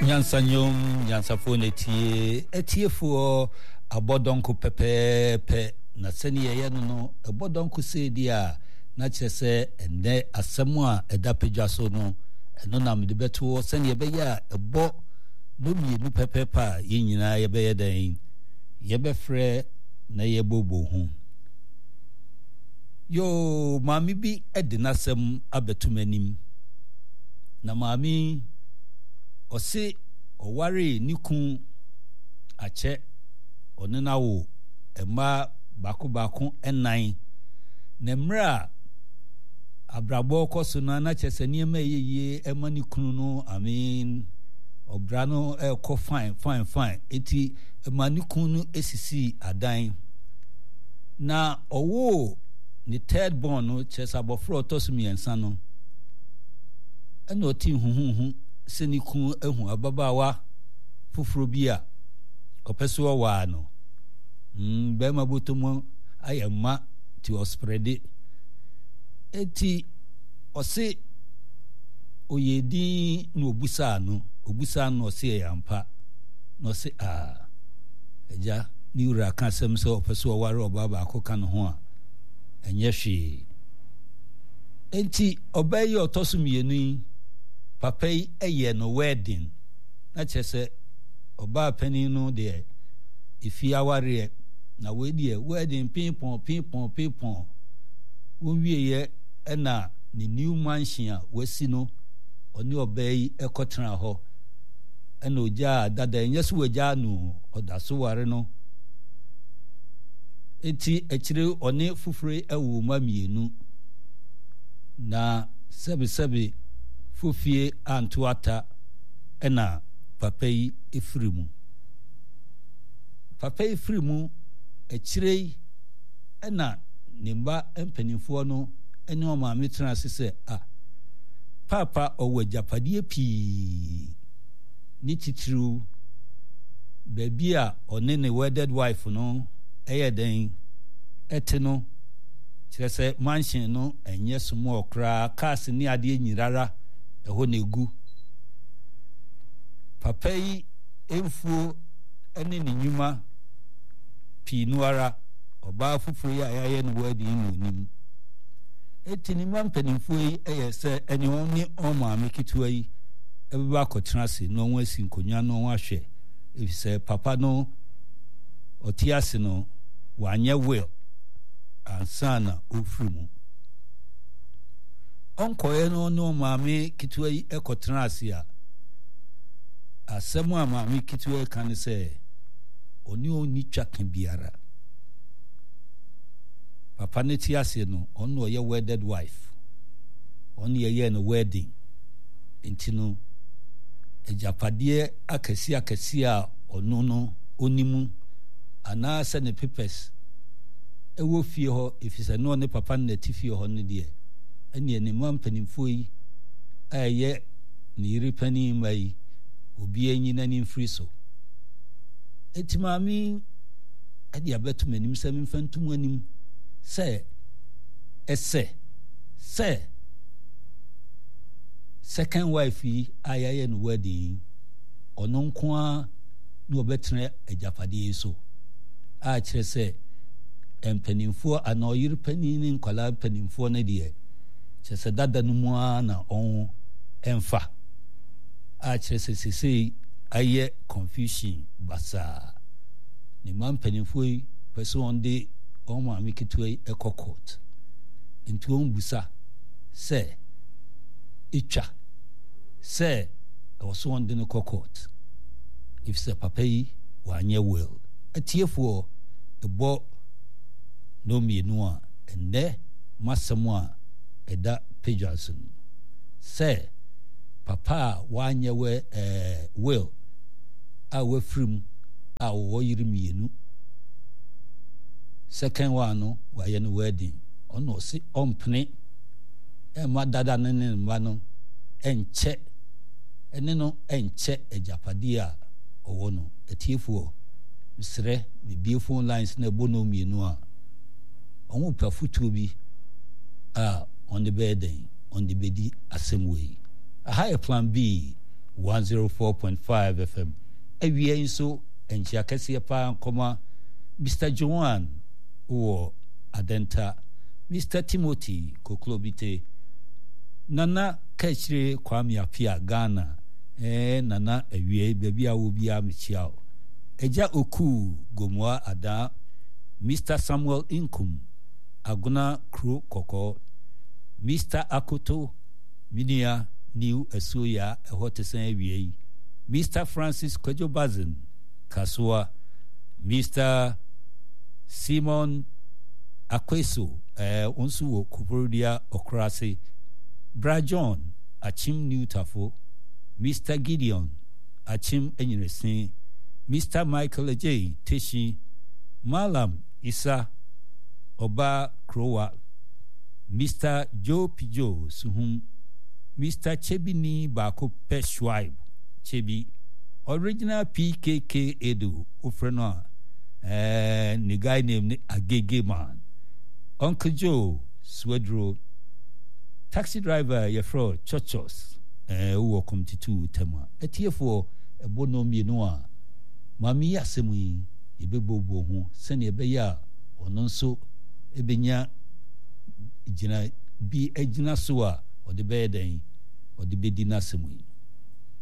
Nyansa nnwom, nyansafoɔ na ɛtie, atiefoɔ abɔ dɔnko pɛpɛɛpɛ, na sɛdeɛ ɛyɛ no no, ɛbɔ dɔnko sei deɛ a, na kyerɛ sɛ ɛnnɛ asɛm a ɛda padwa so no, ɛno na mede bɛto hɔ sɛdeɛ ɛbɛyɛ a ɛbɔ nnɔmmienu pɛpɛɛpɛ a yɛn nyinaa yɛbɛyɛ dɛn? Yɛbɛfrɛ na yɛbɔbɔ ho. Yoo, maame bi de n'asɛm abɛto m'anim. Na maame yi, ɔse ɔwaree ne kun akyɛ, ɔne no awo mma baako baako nnan. Na mmerɛ a abrabɔ rekɔ so no, na kyerɛ sɛ nneɛma ɛyɛ yie ɛma ne kunu no, I mean, ɔbra no ɛrekɔ fine fine fine. Eti ɛma ne kunu no esisii adan. Na ɔwoo ne third born no, kyerɛ sɛ abɔfra a ɔtɔ so mmiɛnsa no, ɛna ɔtee huhuhu sɛ ne kunu ahu ababaawa foforɔ bi a ɔpɛ so ɔwaa no. Bɛrima bɔtɔ mu ayɛ mma ti ɔsprɛde. Eti ɔse ɔyɛ din na ɔbusaa no, ɔbusaa no na ɔse ɛyɛ ampa. Na ɔse aa. Agya, ne wura ka asɛm sɛ ɔpɛ sɛ ɔware ɔbaa baako ka ne ho a, ɛnyɛ hwee. Enti ɔbaa yi a ɔtɔ so mmienu yi, papa yi yɛɛ no wedding. Na kyerɛ sɛ ɔbaa panin no deɛ efie awareɛ, na wei deɛ wedding piipɔn piipɔn piipɔn. Wɔwieeɛ ɛna ne new mansion a wasi no, ɔne ɔbaa yi kɔtenaa hɔ. Ɛna ogyaa dada, ɛnyɛ sɛ wagyaa no o, ɔda so ware no. Enti akyire ɔne foforɔ yi awo mma mmienu. Na sɛbesɛbe fofie anto ata ɛna papa yi firi mu. Papa yi firi mu akyire yi ɛna ne mma mpanimfoɔ no ne wɔn maame tena ase sɛ, ah, paapa ɔwɔ agyapadeɛ pii, ne titiriw baabi a ɔne ne wedded wife no yɛ dɛn te no, kyerɛ sɛ mansion no ɛnyɛ small koraa, cars ne adeɛ nyinara ɛhɔ na egu. Papa yi mfuo ne ne nnwuma pii no ara, ɔbaa foforɔ yi a yɛayɛ no wedding yi na onim. Eti ne mma mpanimfoɔ yi yɛ sɛ ɛne wɔn ne wɔn maame ketewa yi bɛba akɔtena ase na wɔn asi nkonnwa na wɔn ahwɛ efisɛ papa no ɔte ase no wanyɛ will ansa na ɔfiri mu. Ɔnkɔeɛ no ne wɔn maame ketewa yi kɔtena ase a, asɛm a maame ketewa yi ka ne sɛ ɔne wɔn nni twaka biara. Papa no te ase no, ɔno na ɔyɛ wedded wife. Ɔno na yɛyɛɛ no wedding. Nti no, agyapadeɛ akɛseɛ akɛseɛ a ɔno no ɔni mu anaasɛ ne papers ɛwɔ fie hɔ, ɛfiri sɛ na ɔne papa no na ɛte fie hɔ no deɛ, ɛneɛ ne mma mpanimfoɔ yi a ɛyɛ ne yere panin mma yi, obiara nyi n'ani mfiri so. Enti maame yi de abɛto m'anim sɛ memfa nto mo anim sɛ ɛsɛ sɛ second wife yi a yɛayɛ no wedding yi, ɔno nko ara na ɔbɛtena agyapadeɛ yi so, a kyerɛ sɛ mpanimfoɔ anaa ɔyere panin ne nkwadaa mpanimfoɔ no deɛ, kyerɛ sɛ dada no mu ara na ɔn ɛmfa, a kyerɛ sɛ sesei ayɛ confusion basaa. Ne mma mpanimfoɔ yi pɛ sɛ wɔn de wɔn maame ketewa yi kɔ court. Nti wɔn busa sɛ etwa sɛ ɛwɔ so wɔn de no kɔ court efisɛ papa yi wanyɛ will. Atiefoɔ ɛbɔ no mmienu a ɛnnɛ m'asɛm a ɛda padwa so no sɛ papa a wanyɛ wɛ ɛɛ will a wafiri mu a ɔwɔ yere mmienu. Second one no wayɛ no wedding. Ɔno ɔse ɔmpene ɛmma dada no ne ne mma no ɛnkyɛ ɛne no ɛnkyɛ agyapadeɛ a ɔwɔ no. Atiefoɔ, mesrɛ mebie phone lines na ɛbɔ no mmienu a, wɔn pɛ afotuo bi a wɔn de bɛyɛ dɛn, wɔn de bɛdi asɛm wei. Aha yɛ Plan B. 104.5 FM. Awia yi nso, nkyea kɛseɛ paa nkɔma Mister Joan wɔ Adenta, Mister Timothy Koklobite, Nana Kaakyire Kwame Appiah, Ghana, eh, Nana awia yi baabi a wɔ biara mekyia wo. Agya Okuu Gomoa Adaa, Mister Samuel Nkum, Agona Kuro Kɔkɔɔ, Mister Akoto, me nua New Asuoya, ɛhɔ te sɛn awia yi? Mister Francis Kwadwo Bazin, Kasoa, Mister Simon Akweso, eh, wo nso wɔ Koforidua Ɔkorase, Bra John, Akyem New Tafo, Mister Gideon, Akyem Anyinase, Mister Michael Adjei, Teshi, Mallam Isa, Ɔbaa Kurowa, Mister Joe Pijo Suhum, Mister Kyebi ni baako pɛ Shuaib Kyebi, Original PKK Edo, wofrɛ no a, eh, ne guy name ne Agege Man, Uncle Joe Suaduro, Taxi driver yɛfrɛ wo Chochos, eh, wowɔ Komtitu Tema. Atiefoɔ, ɛbɔ nnɔn mmienu a, maame yi asɛm yi, yɛbɛbuobuo ho sɛdeɛ ɛbɛyɛ a ɔno nso bɛnya gyina bi agyina so a ɔde bɛyɛ dɛn? Ɔde bɛdi n'asɛm yi.